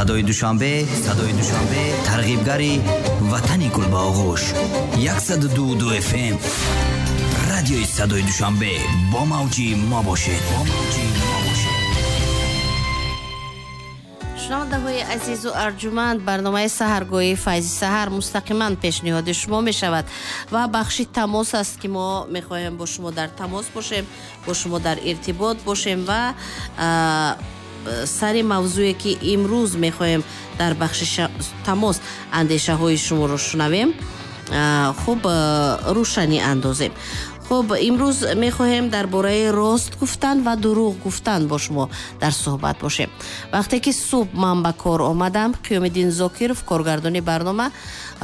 Садои Душанбе, Садои Душанбе, тарғибгари ватани гулбаоғӯш. 102.2 FM. Радиои Садои Душанбе бо мавҷи мо бошед. Бо мавҷи мо бошед. Шунавандаҳои азизу арҷуманд, барномаи саҳаргоҳии Файзи Саҳар мустақиман пешниҳоди шумо мешавад ва бахши тамос аст, ки мо мехоҳем бо шумо дар тамос бошем, бо шумо дар иртибот бошем ва сари мавзӯе, ки имрӯз мехоҳем дар бахши тамос андешаҳои шуморо шунавем, хуб, рӯшанӣ андозем. Хуб, имрӯз мехоҳем дар бораи рост гуфтан ва дурӯғ гуфтан бо шумо дар суҳбат бошем. Вақте ки субҳ ман ба кор омадам, Қиёмиддин Зокиров, коргардони барнома,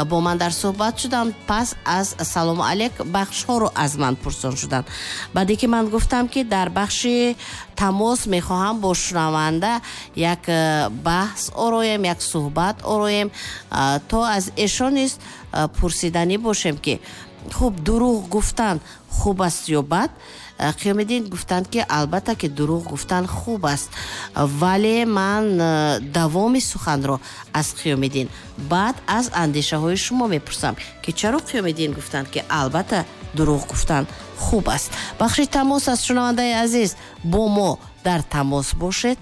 бо ман дар суҳбат шудам. Пас аз салому алейк бахшҳоро аз ман пурсон шуданд. Баъде ки ман гуфтам, ки дар бахши тамос мехоҳам бо шунаванда як баҳс ороем, як суҳбат ороем, то аз эшон низ пурсиданӣ бошем, ки хуб, дурӯғ гуфтан хуб аст ё бад. Қиёмиддин гуфтанд, ки албатта ки дурӯғ гуфтан хуб аст, вале ман давоми суханро аз Қиёмиддин баъд аз андешаҳои шумо мепурсам, ки чаро Қиёмиддин гуфтанд, ки албатта дурӯғ гуфтан хуб аст. Бахши тамос аст, шунавандаи азиз, бо мо дар тамос бошед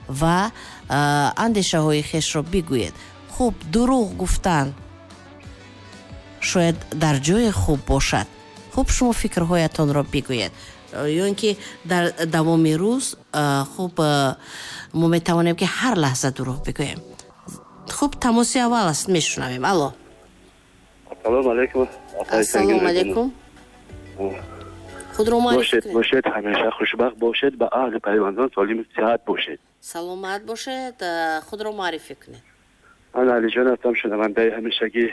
ва андешаҳои хешро бигӯед. Хуб, дурӯғ гуфтан шояд дар ҷое хуб бошад. Хуб, шумо фикрҳоятонро бигӯед, ё ин ки дар давоми рӯз, хуб, мо метавонем, ки ҳар лаҳза дурӯғ бигӯем. Хуб, тамоси аввал аст, мешунавем. Алло. Ассалому алайкум. Ассалому алайкум. Худро муаррифӣ бошед, бошед, ҳамеша хушбахт бошед, ба аҳли пайвандон солиму сиҳат бошед. Саломат бошед, худро муаррифӣ кунед. Ман Алиҷон ҳастам, шунавандаи ҳамешагӣ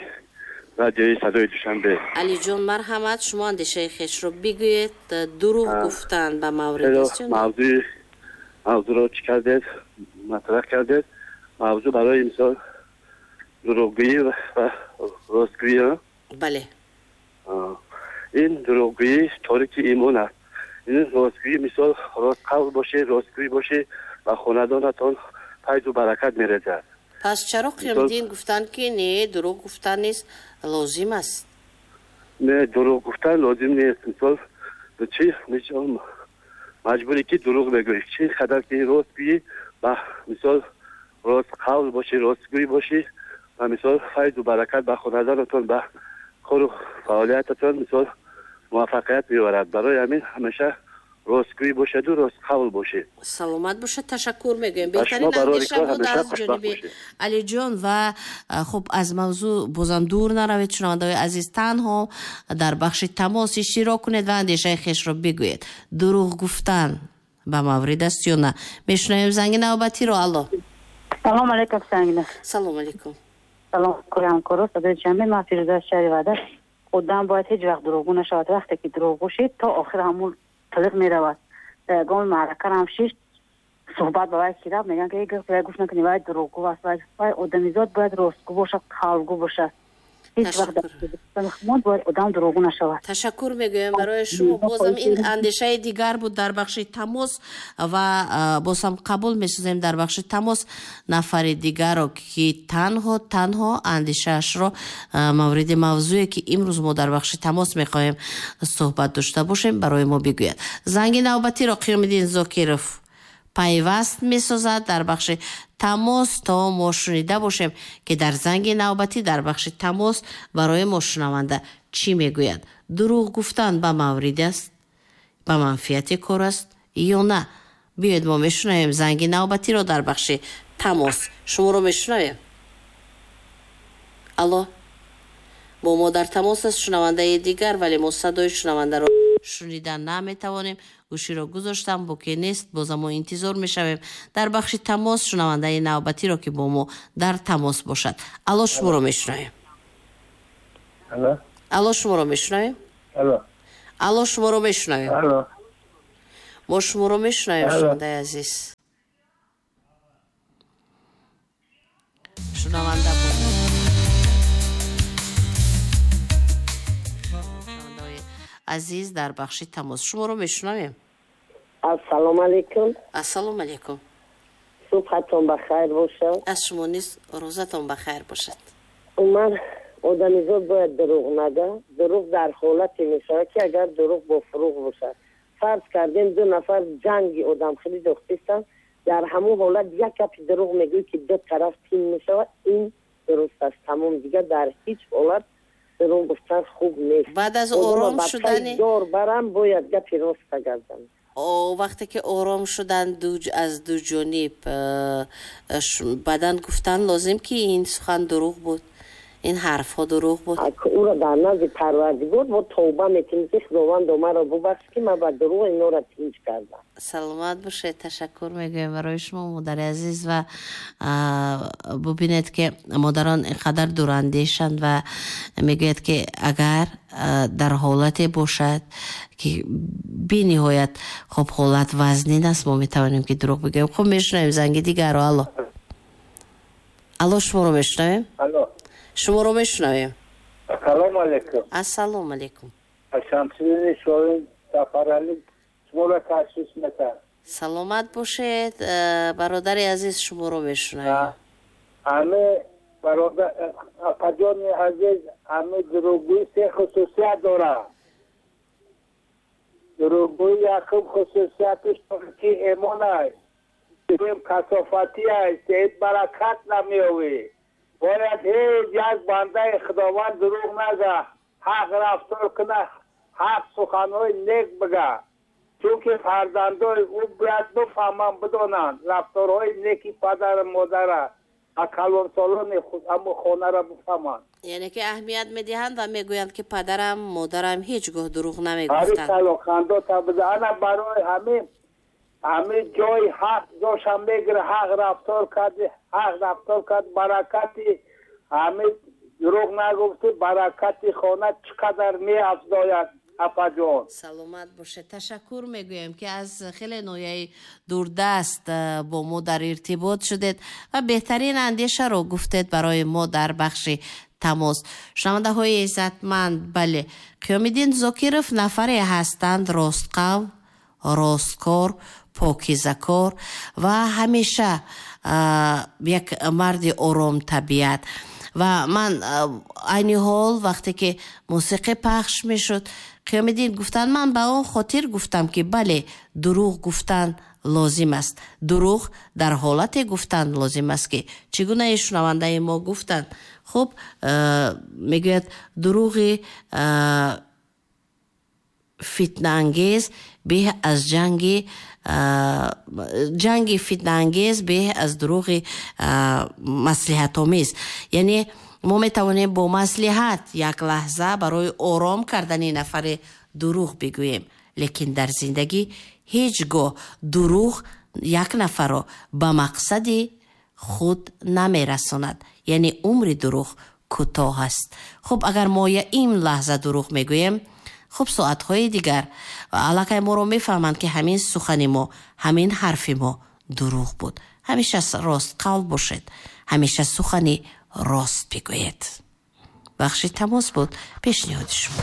радиои Садои Душанбе. Алиҷон, марҳамат, шумо андешаи хешро бигӯед. Дурӯғ гуфтан ба маврид аст ё не? Мавзӯъро чӣ кардед, матраҳ кардед. Мавзӯъ барои мисол дурӯғгӯӣ ва ростгӯӣ. Бале. Ин дурӯғгӯӣ торики имон аст. Ин ростгӯӣ, мисол ростқавл бошӣ, ростгӯӣ бошӣ, ба хонадонатон файзу баракат мерезад. Пас чаро Қиёмиддин гуфтанд, ки не, дурӯғ гуфтан низ лозим аст? Не, дурӯғ гуфтан лозим нест. Мисол чӣ маҷбурӣ, ки дурӯғ бегӯӣ? Чӣ қадар ки рост гӯӣ, ба мисол ростқавл бошӣ, ростгӯй бошӣ, ва мисол файзу баракат ба хонадонатон, ба кору фаъолиятатон мисол муваффақият меорад. Барои ҳамин ҳамеша ростгӯй бошеду ростқавл бошед. Саломат бошед, ташаккур мегӯем. Беҳтарин андеша буд аз ҷониби Алиҷон. Ва хуб, аз мавзӯъ бозам дур наравед, шунавандаҳои азиз, танҳо дар бахши тамос иштирок кунед ва андешаи хешро бигӯед. Дурӯғ гуфтан ба маврид аст ё на? Мешунавем занги навбатиро. Алло. Салом алейкум, Сангина. Салом алейкум. Салом ҳамкоро Садои Душанбе. Ман Фирӯза аз шаҳри Ваҳдат. Одам бояд ҳеҷ вақт дурӯғгӯ нашавад. Вақте ки дурӯғгӯ шид, то охир ҳамун талиқ меравад. Дар ягон маърака ҳам шишт, суҳбат ба вай ки рафт, мегӯянд, ки вай гӯш накунӣ, вай дурӯғгӯ аст. Вай одамизод бояд ростгӯ бошад, қавлгӯ бошад. Ҳеҷ вақт бояд одам дурӯғгӯ нашавад. Ташаккур мегӯем барои шумо. Бозам ин андешаи дигар буд дар бахши тамос ва бозам қабул месозем дар бахши тамос нафари дигарро, ки танҳо андешаашро мавриди мавзӯе, ки имрӯз мо дар бахши тамос мехоҳем суҳбат дошта бошем, барои мо бигӯяд. Занги навбатиро Қиёмиддин Зокиров пайваст месозад дар бахши тамос, то мо шунида бошем, ки дар занги навбатӣ дар бахши тамос барои мо шунаванда чӣ мегӯяд. Дурӯғ гуфтан ба маврид аст, ба манфиати кор аст ё на? Биёед, мо мешунавем занги навбатиро дар бахши тамос. Шуморо мешунавем. Алло, бо мо дар тамос аст шунавандаи дигар, вале мо садои шунавандаро шунида наметавонем. Гӯширо гузоштам, боке нест. Бозам мо интизор мешавем дар бахши тамос шунавандаи навбатиро, ки бо мо дар тамос бошад. Алло, шуморо мешунавем. Алло, шуморо мешунавем. Алло, шуморо мешунавем. Мо шуморо мешунавем, шунавандаи азиз. Шунаванда буд. Азиз, дар бахши тамос шуморо мешунавем. Ассалому алайкум. Ассалому алайкум. Субҳатон ба хайр бошад. Аз шумо низ рӯзатон ба хайр бошад. Умар, одамизод бояд дурӯғ нага. Дурӯғ дар ҳолате мешавад, ки агар дурӯғ бо фурӯғ бошад. Фарз кардем, ду нафар ҷанги одамхелӣ дохтистанд, дар ҳамон ҳолат як гапи дурӯғ мегӯӣ, ки ду тараф тин мешавад, ин дуруст аст. Тамом, дигар дар ҳеҷ ҳолат дурӯғ гуфтан хуб нест. Баъд аз ором шудани дор барам бояд гапи рост гардам. Вақте ки ором шудан аз ду ҷониб, баъдан гуфтан лозим, ки ин сухан дурӯғ буд, ин ҳарфҳо дурӯғ буд. Ӯро дар назди Парвардигор бо тавба мекунем, ки Худованд, маро бубахш, ки ман ба дурӯғ инора тинҷ кардам. Саломат бошед, ташаккур мегӯем барои шумо, модари азиз. Ва бубинед, ки модарон инқадар дурандешанд ва мегӯяд, ки агар дар ҳолате бошад, ки бениҳоят хуб ҳолат вазнин аст, мо метавонем, ки дурӯғ бигӯем. Хуб, мешунавем занги дигарро. Алло, алло, шуморо мешунавем. Шуморо мешунавем. Ассалому алайкум. Ассалому алайкум. Шамсиддин Шоҳин Сафаралӣ шуморо ташриф метард. Саломат бошед, бародари азиз, шуморо мешунавем. Ҳаме бародар, апаҷони азиз, ҳаме дурӯғгӯӣ се хусусият дорад. Дурӯғгӯӣ якум хусусияташ ки эмон аст, дуюм касофатӣ аст, сеюм баракат намеёвӣ. Бояд ҳеҷ як бандаи Худованд дурӯғ нага, ҳақ рафтор кунад, ҳақ суханҳои нек бига, чунки фарзандои ӯ бояд бифаҳманд, бидонанд рафторҳои неки падару модара ва калонсолони ҳамун хонаро бифаҳманд. Яъне ки аҳамият медиҳанд ва мегӯянд, ки падарам, модарам ҳеҷ гоҳ дурӯғ намегуфтанд. Ана барои ҳамин ҳамин ҷои ҳақ ҷошам мегира. Ҳақ рафтор карди, ҳақ рафтор кард, баракати ҳамин дурӯғ нагуфти, баракати хона чӣ қадар меафзояд, апаҷон. Саломат бошед, ташаккур мегӯем, ки аз хеле ноҳияи дурдаст бо мо дар иртибот шудед ва беҳтарин андешаро гуфтед барои мо дар бахши тамос. Шунавандаҳои иззатманд, бале, Қиёмиддин Зокиров нафаре ҳастанд ростқавл, росткор, покизакор ва ҳамеша як марди оромтабиат. Ва ман айни ҳол, вақте ки мусиқӣ пахш мешуд, Қиёмиддин гуфтанд, ман ба он хотир гуфтам, ки бале, дурӯғ гуфтан лозим аст. Дурӯғ дар ҳолате гуфтан лозим аст, ки чӣ гунаи шунавандаи мо гуфтанд. Хуб, мегӯяд, дурӯғи фитнаангез беҳ аз ҷанги фитнаангез беҳ аз дурӯғи маслиҳатомез. Яъне мо метавонем бо маслиҳат як лаҳза барои ором кардани нафаре дурӯғ бигӯем, лекин дар зиндагӣ ҳеҷ гоҳ дурӯғ як нафарро ба мақсади худ намерасонад, яъне умри дурӯғ кӯтоҳ аст. Хуб, агар мо ин лаҳза дурӯғ мегӯем, хуб, соатҳои дигар аллакай моро мефаҳманд, ки ҳамин сухани мо, ҳамин ҳарфи мо дурӯғ буд. Ҳамеша ростқавл бошед, ҳамеша сухани рост бигӯед. Бахши тамос буд пешниҳоди шумо.